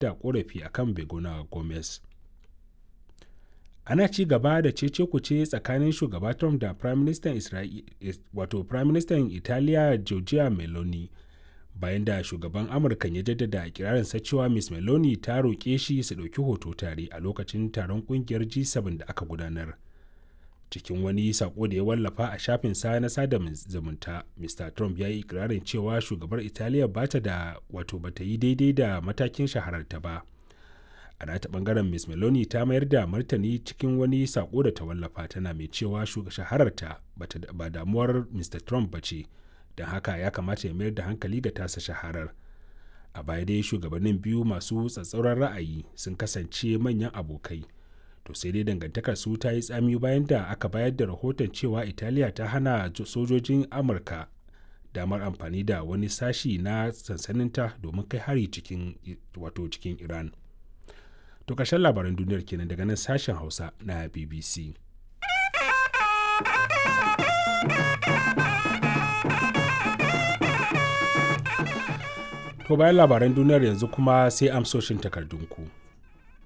da korafi akan Begona Gomez. Ana ci gaba da cece-kuce tsakanin Shugaba Trump da Firaministan Italiya Giorgia Meloni bayan da shugaban Amurkan ya jaddada ikirarinsa cewa Ms. Meloni ta roƙe shi su ɗauki hoto tare a lokacin taron ƙungiyar G7 da aka gudanar. Cikin wani saƙo da ya wallafa a shafinsa na sada zumunta, Mr. Trump ya yi ikirarin cewa shugabar Italiya ba ta da wato ba ta yi daidai da matakin shahararta ba. A nata bangaren Ms. Meloni ta mayar da martani cikin wani saƙo da ta wallafa tana mai cewa shahararta ba damuwar Mr. Trump ba ce, don haka ya kamata ya mayar da hankali ga tasa shaharar. A baya dai shugabannin biyu masu tsatsauran ra'ayi sun kasance manyan abokai. To sai dai dangantakar su ta yi tsami bayan da aka bayar da rahoton cewa Italiya ta hana sojojin Amurka damar amfani da wani sashi na sansaninta domin kai hari cikin wato cikin Iran. To ƙarshen labaran duniyar kenan daga nan sashen Hausa na BBC. To bayan labaran duniyar yanzu kuma sai amsoshin takardunku.